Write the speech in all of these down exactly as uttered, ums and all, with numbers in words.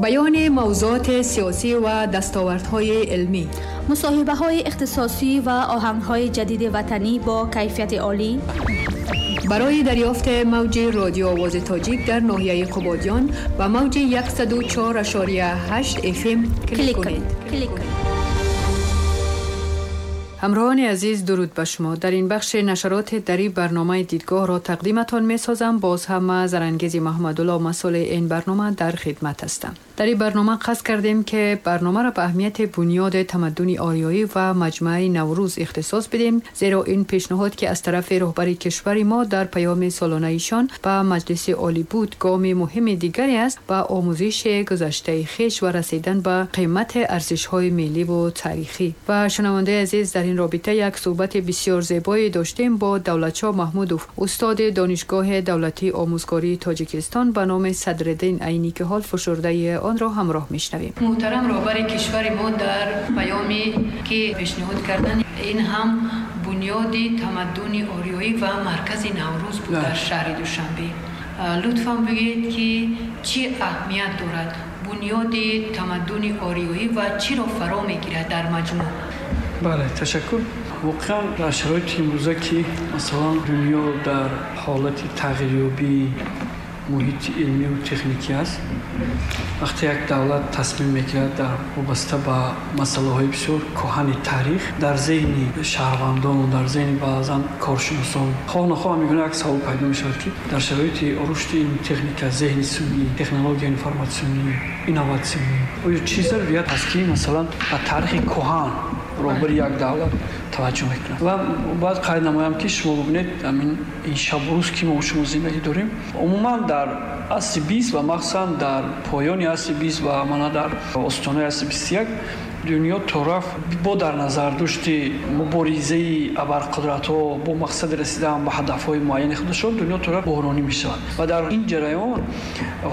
بیان موضوعات سیاسی و دستاوردهای علمی، مصاحبه‌های اختصاصی و آهنگ‌های جدید وطنی با کیفیت عالی. برای دریافت موج رادیو آواز تاجیک در ناحیه قبادیان و موج صد و چهار ممیز هشت اف ام کلیک کنید. کلیک کنید. همراهان عزیز، درود به شما. در این بخش نشرات دری برنامه دیدگاه را تقدیمتان می سازم. باز هم زرنگیز محمدالله مسئول این برنامه در خدمت هستم. در این برنامه قصد کردیم که برنامه را به اهمیت بنیاد تمدن آریایی و مجمع نوروز اختصاص بدیم، زیرا این پیشنهاد که از طرف رهبر کشور ما در پیام سالانه ایشان به مجلس عالی بود، گام مهم دیگری است به آموزش گذشته خویش و رسیدن به قیمت ارزش‌های ملی و تاریخی. و شنونده عزیز، در این رابطه یک صحبت بسیار زیبایی داشتیم با دولتشاه محمودوف، استاد دانشگاه دولتی آموزگاری تاجیکستان به نام صدرالدین عینی که حال فشرده آن را همراه میشنویم. محترم رهبر کشور ما در پیامی که پیشنهاد کردن، این هم بنیاد تمدن آریایی و مرکز نوروز بود در شهر دوشنبه. لطفاً بگید که چی اهمیت دارد بنیاد تمدن آریایی و چی را فرا میگیرد در مجموع؟ بله، تشکر. واقعا در شرایط امروزه که مثلا دنیا در حالت تغییریابی محیط علمی و تکنیکی است، وقتی یک دولت تصمیم میگیرد در وابسته به مسئله های بسیار کهن تاریخ، در ذهن شهروندان و در ذهن بعضا کارشناسان خواه نخواه میگونه یک سوال پیدا میشود که در شرایط رشد علمی تکنیک، ذهن سنی، تکنولوژی انفرماسیونی، اینواسیونی، آیا چیز ضروریت است که مثلا به تاریخ کهن роҳбари як давлат таваҷҷӯҳ мекунад. Ва бояд қайд намоям, ки шумо бубинед, ҳамин ин шабу рӯз ки мо шумо зиндагӣ дорем, умуман дар асри бист ва махсусан дар поёни асри бист ва мана дар остонаи асри бисту як дунё то рафт бо дар назардошти муборизаи абарқудратҳо бо мақсади расидан ба ҳадафҳои муайяни худашон, дунё то рафт буҳронӣ мешавад ва дар ин ҷараён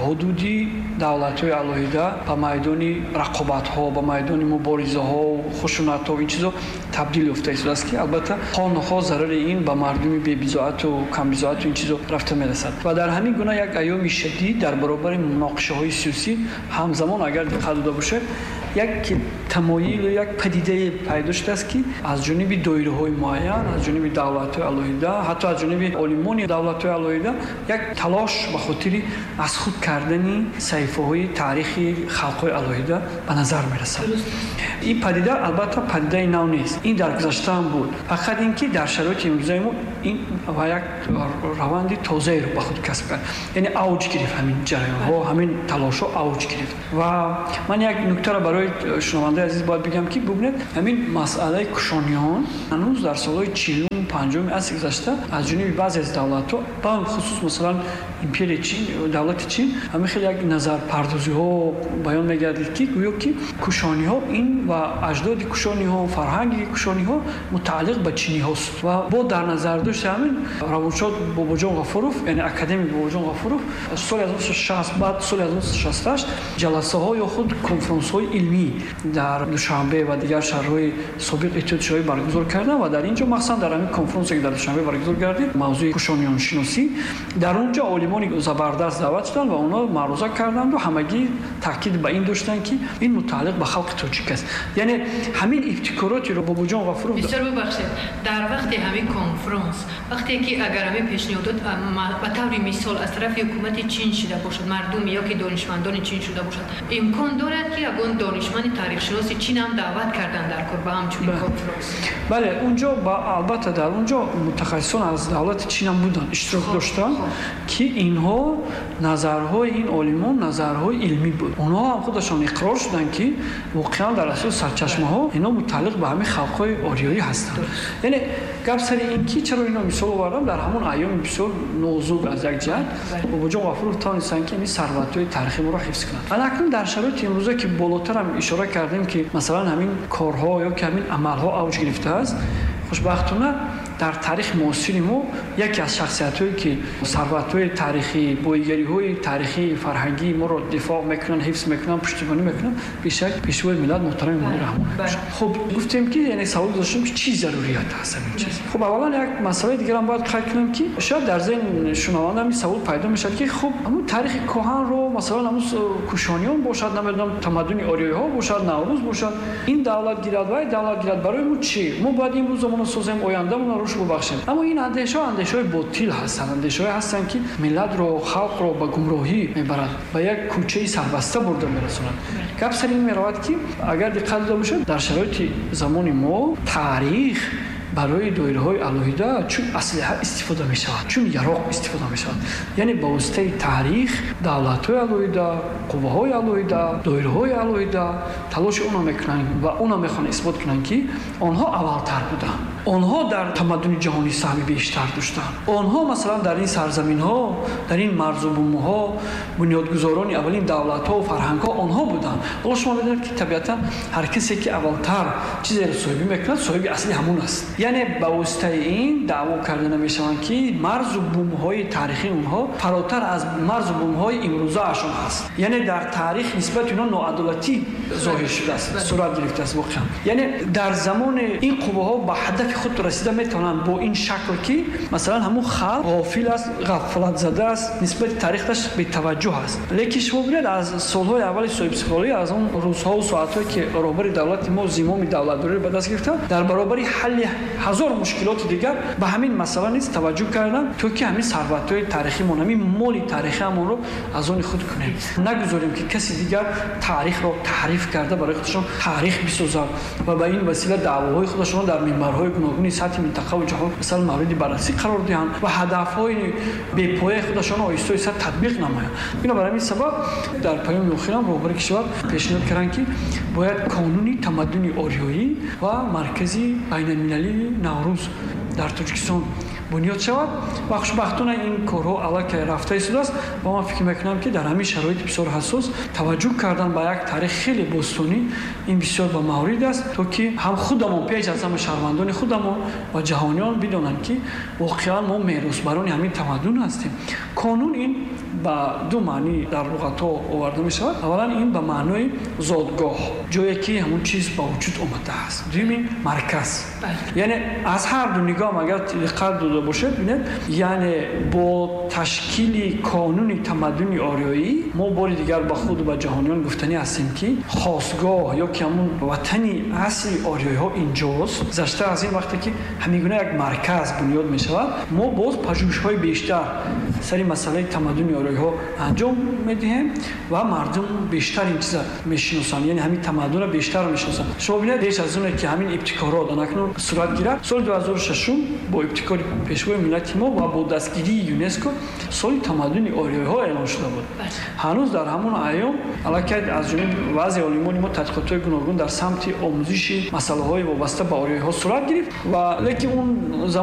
ҳудуди давлатҳои алоҳида ба майдони рақобатҳо, ба майдони муборизаҳо, хушунатҳо, ин чизо табдил ёфта истодааст, ки албатта хоҳ нохоҳ зарари ин ба мардуми бебизоату камбизоату ин чизо рафта мерасад. Ва дар ҳамин гуна як айёми шадид дар баробари муноқишаҳои сиёсӣ ҳамзамон агар диққат дода бошед, як тамоил, як падидае пайдо шудааст, ки аз ҷониби доираҳои муайян, аз ҷониби давлатҳои алоҳида, ҳатто аз ҷониби олимони давлатҳои алоҳида як талош ба хотири аз худ кардани саҳифаҳои таърихи халқҳои алоҳида ба назар мерасад. Ин падида албатта падидаи нав нест, ин дар гузашта ҳам буд, фақат ин ки дар шароити имрӯзаи мо ин ва як раванди тозаеро ба худ касб кард, яъне авҷ гирифт ҳамин ҷараёнҳо, ҳамин талошҳо авҷ гирифт. Ва ман як нуктаро барои шунавандаи азиз бояд бигам, ки бубинед, ҳамин масъалаи кушониён ҳанӯз дар солҳои чилум панҷуми асри гузашта аз ҷониби баъзе аз давлатҳо, бахусус масалан империяи Чин, давлати Чин, ҳамин хеле як назарпардозиҳо баён мегардид, ки гӯё ки кушониҳо ин ва аҷдоди кушониҳо, фарҳанги кушониҳо мутааллиқ ба чиниҳост. Ва бо дар назардошти ҳамин равоншод Бобоҷон Ғафуров, яъне академик Бобоҷон Ғафуров, соли ҳазору нӯҳсаду шаст, баъд соли ҳазору нӯҳсаду шасту ҳашт ҷаласаҳо ё худ конфронсҳои илмӣ дар Душанбе ва дигар шаҳрҳои собиқ Иттиҳоди Шӯравӣ баргузор карданд ва дар ин ҷо махсусан дар ҳамин конфронсе ки дар Душанбе баргузор гардид, мавзӯи кушониёншиносӣ, дар он ҷо олимони забардаст даъват шуданд ва онҳо маъруза карданд ва ҳамагӣ таъкид ба ин доштанд, ки ин мутааллиқ ба халқи тоҷик аст. Яъне ҳамин ибтикоротеро Бобоҷон Ғафуров... Бисёр бубахшед, дар вақти ҳамин конфронс, вақте ки агар ҳамин пешниҳодот ба таври мисол аз тарафи ҳукумати Чин шуда бошад, мардуми ё ки донишмандони Чин шуда бошад, имкон дорад ки ягон донишманди таърихшиноси Чин ҳам даъват кардан дар кор ба ҳамчунин конфронс? Бале, унҷо албатта дар унҷо мутахассисон аз давлати Чин ҳам буданд, иштирок доштанд, ки инҳо назарҳои ин олимон назарҳои илмӣ буд. Онҳо ҳам худашон иқрор шуданд, ки воқеан дар асоси сарчашмаҳо инҳо мутааллиқ ба ҳамин халқҳои ориёӣ ҳастанд. Яъне гап сари ин ки чаро инро мисол овардам, дар ҳамон айёми бисёр нозук аз як ҷиҳат Бобоҷон Ғафуров тавонистанд, ки ин сарватҳои таърихи моро ҳифз кунанд. Акнун дар шароити имрӯза ки болотар ҳам ишора кардем, ки масалан ҳамин корҳо ё ки ҳамин амалҳо авҷ гирифтааст, хушбахтона дар таърихи муосири мо яке аз шахсиятҳое ки сарватҳои таърихӣ, бойгариҳои таърихии фарҳангии моро дифоъ мекунанд, ҳифз мекунанд, пуштибонӣ мекунанд, бешак пешвои миллат муҳтарам Эмомалӣ Раҳмон мебошад. Хуб, гуфтем ки яъне савол доштем ки чӣ зарурият ҳаст ҳамин чиз. Хуб, аввалан як масъалаи дигарам бояд қайд кунам ки шояд дар зеҳн шунаванда ҳамин савол пайдо мешавад ки хуб, ҳамун таърихи кӯҳанро, масалан ҳамун кушониён бошад, намедонам тамаддуни ориёиҳо бошад, Наврӯз бошад, ин давлат гирад ва давлат гирад, барои мо чӣ? Мо бояд имрӯзамонро созем, ояндамонро рушд бубахшем. Аммо ин андешаҳо андешаҳои ботил ҳастанд, андешаҳое ҳастанд ки миллатро, халқро ба гумроҳӣ мебарад, ба як кӯчаи сарбаста бурда мерасонад. Гап сари ин меравад ки агар диққат дода бошад, дар шароити замони мо таърих барои доираҳои алоҳида чун аслиҳа истифода мешавад, чун яроқ истифода мешавад. Яъне ба воситаи таърих давлатҳои алоҳида, қувваҳои алоҳида, доираҳои алоҳида талоши онро мекунанд ва онро мехоҳанд исбот кунанд ки онҳо аввалтар буданд, онҳо дар тамаддуни ҷаҳонӣ саҳми бештар доштанд, онҳо масалан дар ин сарзаминҳо, дар ин марзу бумҳо бунёдгузорони аввалин давлатҳо ва фарҳангҳо онҳо буданд. Ҳоло шумо медонед ки табиатан ҳар касе ки аввалтар чизеро соҳибӣ мекунад, соҳиби асли ҳамон аст. Яъне ба воситаи ин даъво карда намешаванд ки марзу бумҳои таърихии онҳо фаротар аз марзу бумҳои имрӯзаашон ҳаст. Яъне дар таърих нисбати онҳо ноадолатӣ зоҳир шудааст, сурат гирифтааст воқеан. Яъне дар замони ин қувваҳо ба ҳадафи худ расида метавонанд бо ин шакл ки масалан ҳамун халқ ғофил аст, ғафлатзада аст, нисбати таърихаш бетаваҷҷӯҳ аст. Лекин шумо бинед аз солҳои аввали соҳибистиқлолӣ, аз он рӯзҳо ва соатҳое ки роҳбари давлати мо зимоми давлатдориро ба даст гирифтанд, дар баробари ҳалли ҳазор мушкилоти дигар ба ҳамин масъала низ таваҷҷӯҳ карданд то ки ҳамин сарватҳои таърихимон, ҳамин моли таърихиамонро аз они худ кунем, нагузорем ки каси дигар таърихро таҳриф карда барои худашон таърих бисозад ва ба ин васила даъвоҳои худашонро дар минбарҳои гуногуни сатҳи минтақа ва ҷаҳон масалан мавриди баррасӣ қарор диҳанд ва ҳадафҳои бепояи худашонро оҳиста оҳиста татбиқ намоянд. Бинобар ҳамин сабаб дар паёми охирам роҳбари кишвар пешниҳод карданд ки бояд қонуни тамаддуни ориёӣ ва маркази байналмилалии Наврӯз дар Тоҷикистон бунёд шавад ва хушбахтона ин корҳо аллакай рафта истодааст ва ман фикр мекунам ки дар ҳамин шароити бисёр ҳассос таваҷҷӯҳ кардан ба як таърих хеле бостонӣ ин бисёр ба маврид аст, то ки ҳам худамон пеш аз ҳама шаҳрвандони худамон ва ҷаҳониён бидонанд ки воқеан мо меросбарони ҳамин тамаддун ҳастем. Қонун ин ба ду маънӣ дар луғатҳо оварда мешавад. Аввалан ин ба маънои зодгоҳ, ҷое ки ҳамон чиз ба вуҷуд омадааст. Дуюм ин марказ. Яъне аз ҳар ду нигоҳ агар диққат дода бошед, бинед, яъне бо ташкили қонуни тамаддуни ориёӣ мо бори дигар ба худ ва ба ҷаҳониён гуфтанӣ ҳастем ки хосгоҳ ё ки ҳамон ватани асли ориёиҳо инҷост. Гузашта аз ин вақте ки ҳамин гуна як марказ бунёд мешавад, мо боз пажӯҳишҳои бештар сари масъалаи тамаддуни ориёиҳо анҷом медиҳем ва мардум бештар ин чиза мешиносанд, яъне ҳамин тамаддунро бештар мешиносанд. Шумо бинед, пеш аз оне ки ҳамин ибтикорот анакнун сурат гирад, соли ду ҳазору шашум бо ибтикори пешвои миллати мо ва бо дастгирии ЮНЕСКО соли тамаддуни ориёиҳо эълон шуда буд. Ҳанӯз дар ҳамон айём аллакай аз ҷониби баъзе олимони мо тадқиқотҳои гуногун дар самти омӯзиши масъалаҳои вобаста ба ориёиҳо сурат гирифт ва лекин он замон